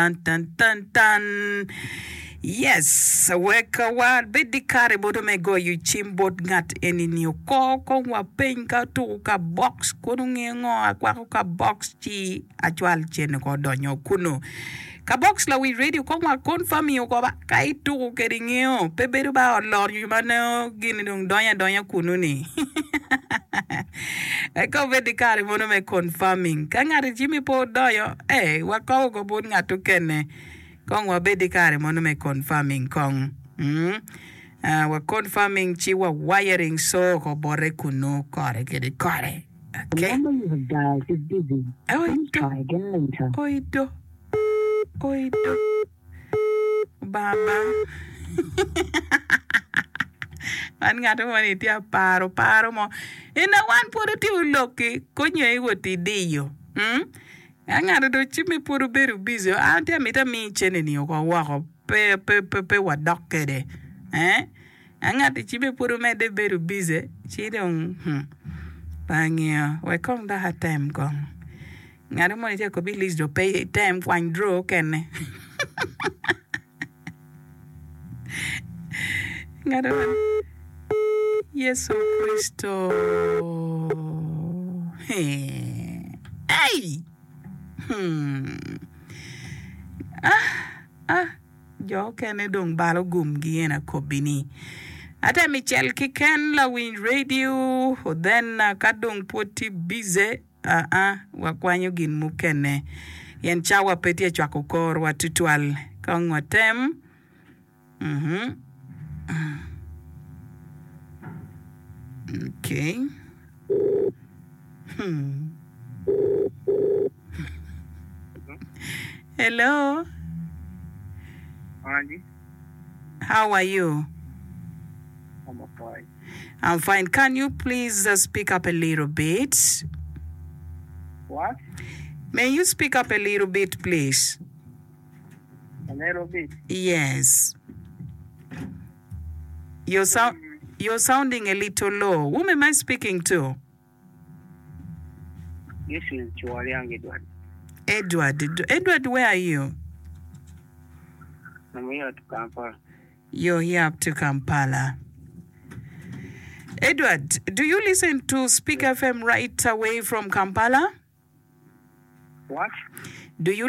Tan tan tan tan Yes wek wa bed di kare boto me goyo cim bot ngat eni ni oko kong wa peny ka otuku ka box kono ngeyo ngo akwako ka box ci acwal cene ko odonyo kunu ka box lawic radio kong wa confirm oko ba ka ituku kede ngeyo pe bedo ba olor nyo ma nongo gini dong donyo adonya kunu ni Eka obed ki kare mono me confirming. Ka ngat i cimmi pe odoyo, ee, wakobo ko bot ngat okene. Kong wabed ki kare mono me confirming kong. Mm. Uh, wa confirming ci wa wiring so ko bote kunu kore kede kore. The Okay. number you have dialed is busy. Please Oito. try again later. Oito. Oito. Baba Man ngat mo ni tye aparo paro mo ena wan pwod otimo lok-ki konyo i wot idiyo mm? Ka ngat dong cimme pwod obedo busy an tye amito ami cene ni oko woko pe pe pe pe wadok kede eh Ka ngat cimme pwod omedde bedo busy ci dong hmm pe angeyo wek kong dok atem kong. Ngat moni tye ka kobi lic dong pe item kwany draw okene. Ngat moni Yecu Kricito Ei! Hmm. Ah, ah, jo okene dong balo gumgi en akobi ni. Atem icel kiken lawiny radio then ka dong pwod tye busy Aa, wakwanyo gin mukene pien cawa pe tye cwako korwa tutwal. Kong watem. Mhm. Okay. Hmm. Hello. Angie, How are you? I'm fine. I'm fine. Can you please uh, speak up a little bit? What? May you speak up a little bit, please? A little bit. Yes. You're, sou- you're sounding a little low. Whom am I speaking to? This is Chiwaliang Edward. Edward. Edward, where are you? I'm here at Kampala. You're here up to Kampala. Edward, do you listen to Speak FM right away from Kampala? What? Do you?